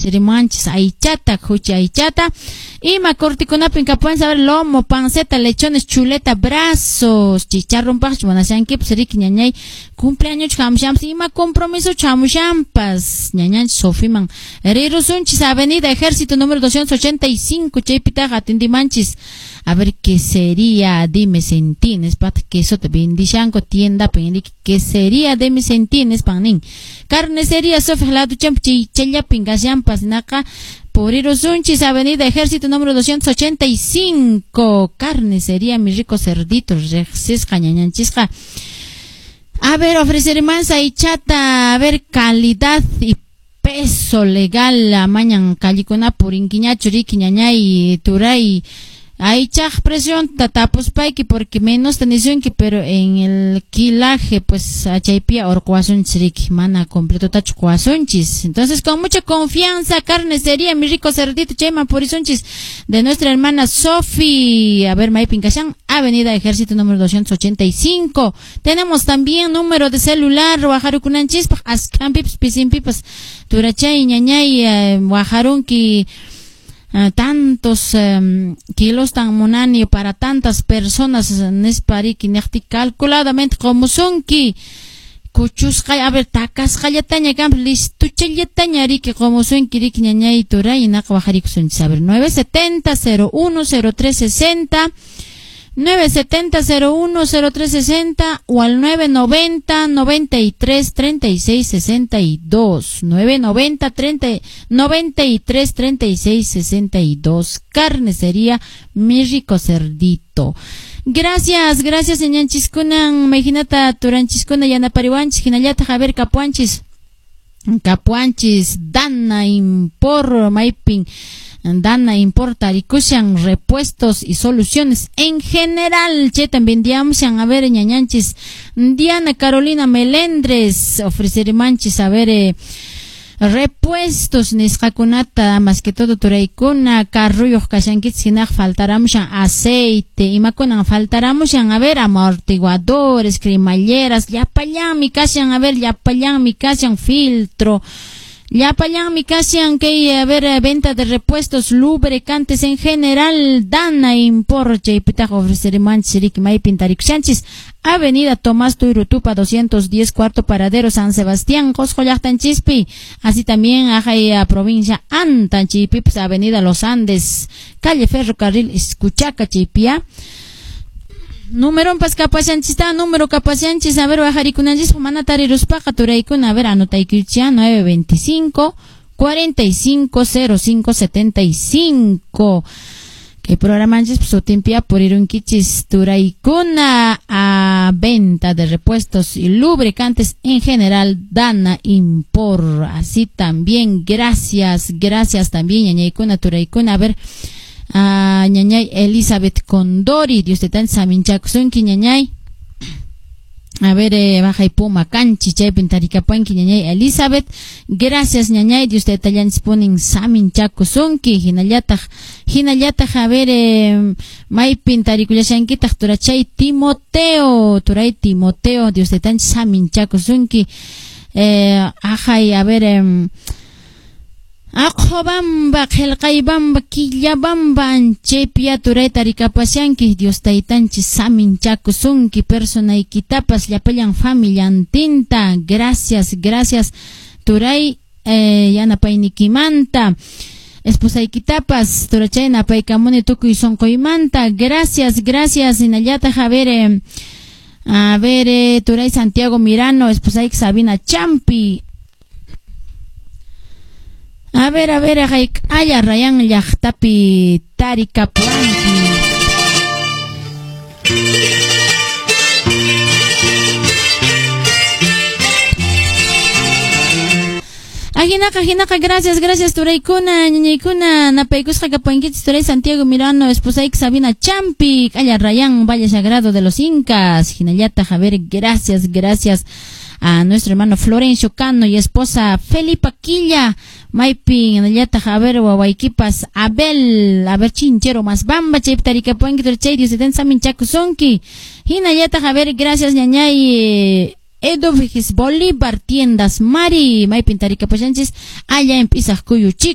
Ofrecerimanchis aychata, khuchi aychata. Ima cortikunapin kapuan saber lomo, panceta, lechones, chuleta, brazos, chicharrón paqchu munashankipas riki ñañay cumpleaños hamushampas ima compromiso chamushampas ñañanchis Sofiman rirusunchis Avenida Ejército número 285 chaypitaqa atindimanchis. A ver qué sería dime sentines pat queso te bendishanko tienda pendik qué sería dime sentines panin carnicería Sofía lado champ chaychallapin kashampas naqa purirusunchis Avenida Ejército número 285 carnicería mi rico cerdito riqsisqa ñañanchisqa. A ver, ofrecer más aychata, a ver, calidad y peso legal, mañan callikuna purinkiñachu riki ñañay turay aychaq presión tapuspayki porque menos tenisunki, pero en el quilaje pues chaypia orquasunchis riki mana completotachu quwasunchis. Entonces con mucha confianza carnicería mi rico cerdito chayman purisunchis de nuestra hermana Sofi. A ver, maypin kashan Avenida Ejército número 285. Tenemos también número de celular wajarukunanchispaq askanpipas pisinpipas turachay ñañay wajarunki tantos kilos tan munani para tantas personas nispariki niqti calculadamente qomusunki kuchusqay a ver takasqallataña kanpas listuchallataña riki qomusunki riki ñañay turay naqa wajarikusunchis. A ver, 970 01 03 60 970 01 03 60 o al 990 93 36 62 990 30 93 36 62. Carnicería mi rico cerdito. Gracias, gracias ñañanchiskunan mayhinata turanchiskuna yanapariwanchis hinallataq a ver kapuanchis kapuanchis Dana Impor maypin Dana Importa rikushan repuestos y soluciones en general. Che también diamshan a ver ñañanchis Diana Carolina Melendres ofrecerimanchis a ver repuestos nisqakunata más que todo turaykuna carruyuq kashankichis hinaq faltaramushan aceite imakunan faltaramushan a ver amortiguadores, cremalleras, llapallanmi kashan a ver llapallanmi kashan filtro llapallanmi kashan kay a ver venta de repuestos lubricantes en general Dana Import chaypitaq ofrecerimanchis riki maypin tarikushanchis Avenida Tomás Tuyrutupa 210 cuarto paradero San Sebastián Qosqo llaqtanchispi así también ajay provincia Antan chaypipas Avenida Los Andes calle Ferrocarril Escuchaca chaypia. Número pas kapashanchista número kapashanchis a ver wajarikunanchis mana tariruspaqa turaykuna a ver anotaykuchia 925 45 05 75 kay programanchis sutinpia purirunkichis turaykuna a venta de repuestos y lubricantes en general Dana Impor. Así también gracias, gracias también ñañaykuna turaykuna a ver a ñañay Elizabeth Condori, Dios te tan saminchakusunki ñañay. A ver, baja y puma canchi, chaypin tarikapuanki ñañay Elizabeth. Gracias ñañay, Dios te tallanchis punin saminchakusunki, hinallataq, hinallataq, a ver, maypin tarikullashankitaq turachay Timoteo, turay Timoteo, Dios te tan saminchakusunki. Ajay, a ver, Aqhobamba, qillqaybamba, quillabamba, chaypiya turay tarikapashanki, Dios taytanchis saminchakusunki, personaykitapas llapallan familiantinta. Gracias, gracias, turay yanapaynikimanta. Esposaykitapas, turachay napaykamuni tukuy sunquymanta. Gracias, gracias, hinallataq, a ver, turay Santiago Mirano, esposayki Sabina Champi. A ver, aya rayan llaqtapi tarikapuanki. Ajinaqa, ajinaqa, gracias, gracias, turaykuna, ñañaykuna, napaykusqa kapuankichis, turay Santiago Mirano, esposayki Sabina Champi, aya rayan, Valle Sagrado de los Incas, hinallataq, a ver, gracias, gracias a nuestro hermano Florencio Cano y esposa Felipa Quilla, maypin, hinallataq, a ver, wawaykipas, Abel, a ver, chinchero más bamba, chaypi tarikapuanki, turachay, Dios te saminchakusunki, hinallataq, a ver, gracias, ñañay, Eduvigis Bolívar, tiendas Mari, maypin tarikapushanchis, allá en Pisaq Kuyuchico.